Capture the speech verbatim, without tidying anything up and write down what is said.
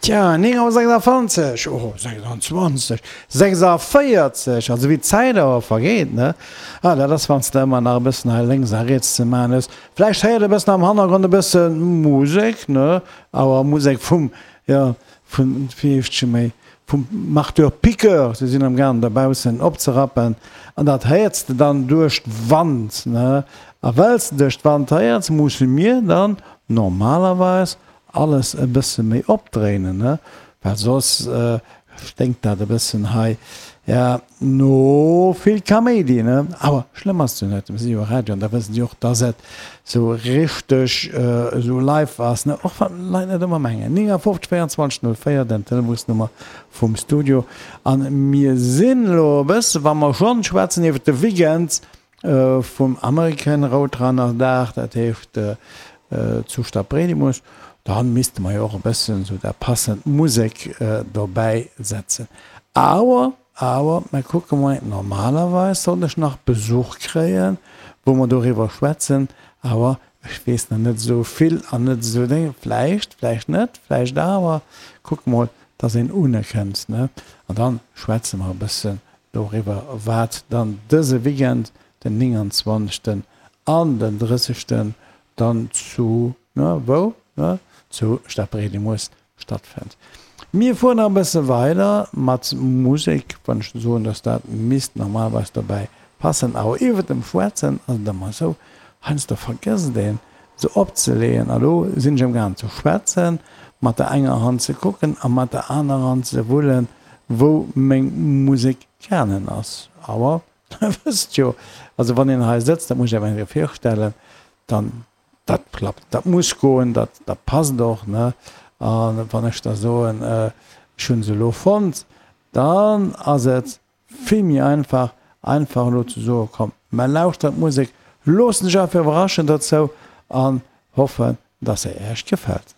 Tja, néng Auer sechsanzwanzeg, oh, sechsanzwanzeg, sechsundvierzig, also wéi d'Zäit awer vergeet, ne? Ah, dat ass, wann s de ëmmer nach e bëssen hei lénks a riets ze maachen hues. Vläicht héiert e bëssen am Hannergrond e bësse Musek, ne? Awer Musek vum, jo, vun, wéi heescht se méi, vum Marteau-Piqueur, se sinn amgaangen dobaussen opzerappen an dat héiers de dann duerch d'Wand, ne? A well s de duerch d'Wand héiers, musse mir dann normalerweis alles e bësse méi opdréinen, ne, well soss sténkt dat e bëssen hei, ja, no vill Kaméidi, ne. Awer schlëmm ass et jo net, mir si jo Radio an da wëssen si och, dass et sou richteg esou live ass, ne, och wann d'Leit net ëmmer mengen. néngafofzeg véierundzwanzeg null véier, den Telefonsnummer vum Studio. An mir sinn elo e bësse, wa mer schonn schwätzen iwwer de Weekend vum American Roadrunner Dag, dat heescht zu Stadbredimus, dann misste mer jo och e bëssen esou der passend Musek dobäi setzen. Awer, awer, mer kucke mol, normalerweis sollt ech nach Besuch kréien, wou mer doriwwer schwätzen, awer ech weess nach net esou vill an net esou Dénge, vläicht, vläicht net, vläicht awer, kucke mol, dass een unekënnt, ne? An dann schwätze mer e bëssen doriwwer, wat dann dëse Weekend, den nénganzwanzegsten an den drëssegsten, dann zu, ne, wou, ne, zu Stadbredimus stattfënnt. Mir fueren nach e bësse weider mat Musek, wann ech soen, dass dat misst normalerweis dobäi passen. Awer iwwert dem Schwätzen ass et ëmmer esou, heiansdo vergësst een se opzeleeën. A lo sinn ech amgaang ze schwätzen, mat der enger Hand ze kucken a mat der anerer Hand ze wullen, wou meng Musek gaangen ass. Awer der wësst jo, also wann een hei sëtzt, dat muss ech awer eng Kéier virstellen, dann dat klappt, dat muss goen, dat, dat passt och, ne? A wann ech da soen, ech hu se elo fonnt, dann ass et vill méi einfach, einfach elo ze soen, komm, mer lauschteren d'Musek, loossen sech einfach iwwerraschen dozou an hoffen, dass se Iech gefält.